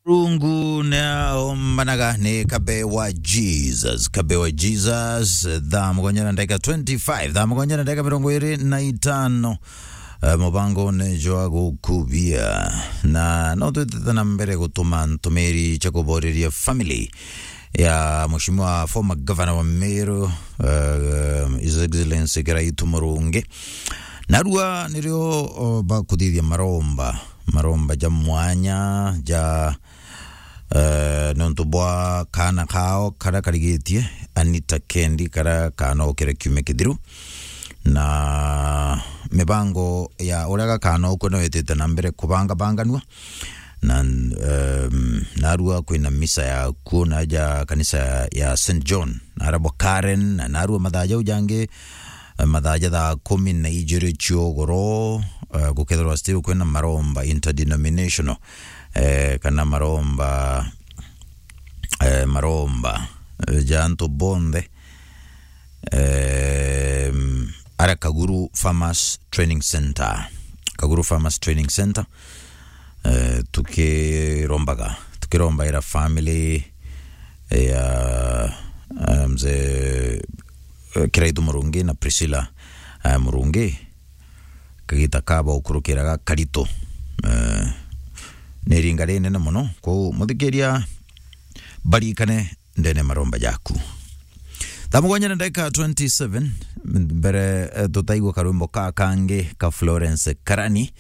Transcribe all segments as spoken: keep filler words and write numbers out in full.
Rungu na ombanaga ni Kabe wa Jesus, Kabe wa Jesus, thaa mugwanja na ndagika twenty-five, thaa mugwanja na ndagika mirongo iri na itano. Eh, mubango ni jwa gukubia. Na no twitite na mbere gutuma ntumiri cia kuboreria family ya Mheshimiwa former governor wa Meru, eh, His Excellency Kiraitu Murungi. Narua nirio, o, bakuthithia maromba, maromba ja mwanya, ja, eh, nontu bwa kaana kao karia karigitie, Anita Kendi, karia kaanokire kiumia kithiru. Na mibango ya uria gakaanokue no itite na mbere kubangabanganua. Na, em, narua kwina misa ya kuo na ja kanisa ya Saint John, na arabwa Karen, na narua mathaa jau jangi, eh, mathaa ja thaa kumi na ijiri cia ugoro, eh, gukethirwa still kwina maromba interdenominational, eh, kana maromba, eh, maromba, eh, ja antu bonthe, em, ara Kaguru Farmers Training Center. Kaguru Farmers Training Center, eh, tukirombaga, tukirombaira family ya, eh, mzee, eh, Kiraitu Murungi na Priscilla, eh, Murungi. Kagita kaba ukurukiraga karito. Eh, ni iringa rinene muno. Kwou muthikiria, barikane ndene maromba jaku. Thaa mugwanja na ndagika twenty-seven, mbere, eh, tutaigua karwimbo ka kangi ka Florence Karani,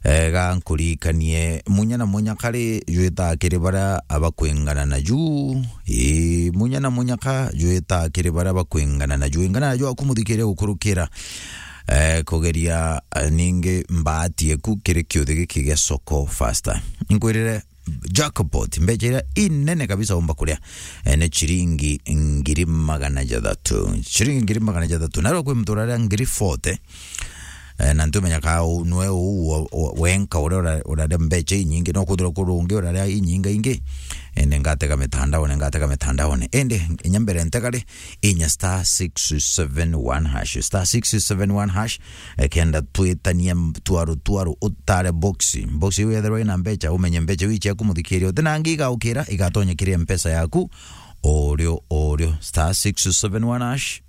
eh, ga nkuririkanie munya na munya kari jwita kiri baria abakwingana na ju. Ii, munya na munya ka jwita kiri baria bakwingana na ju. Ingana na ju aku muthikiria gukurukira, eh, kugeria, eh, ningi mbaati eku kiri kiuthi giki gia Soko Fasta. Nkwirire, jackpot, mbecha iria inene kabisa umba kuria, eh, ni chiringi ngiri magana jathatu. Chiringi ngiri magana jathatu. Narua kwi muntu uraria ngiri forty, eh, na ntumenya ka u-, nwe u-, wa-, wa-, wenka uria ura-, uraria mbecha inyingi, no kwithirwa kuri ungi uraria inyinga ingi. Ende ngatega mitandaone, ngatega mitandaone. Ende inya mbere ntegari, inya star six seven one hash, star six seven one hash, eh, kenda twitanie m-, twaru twaru, utare boxi. Boxi iu yethirwa ina mbecha, umenye mbecha iu ciaku muthikiria. Utinangi igaukira, igatonya kiri mpesa yaku, o rio, o rio. Star six seven one hash.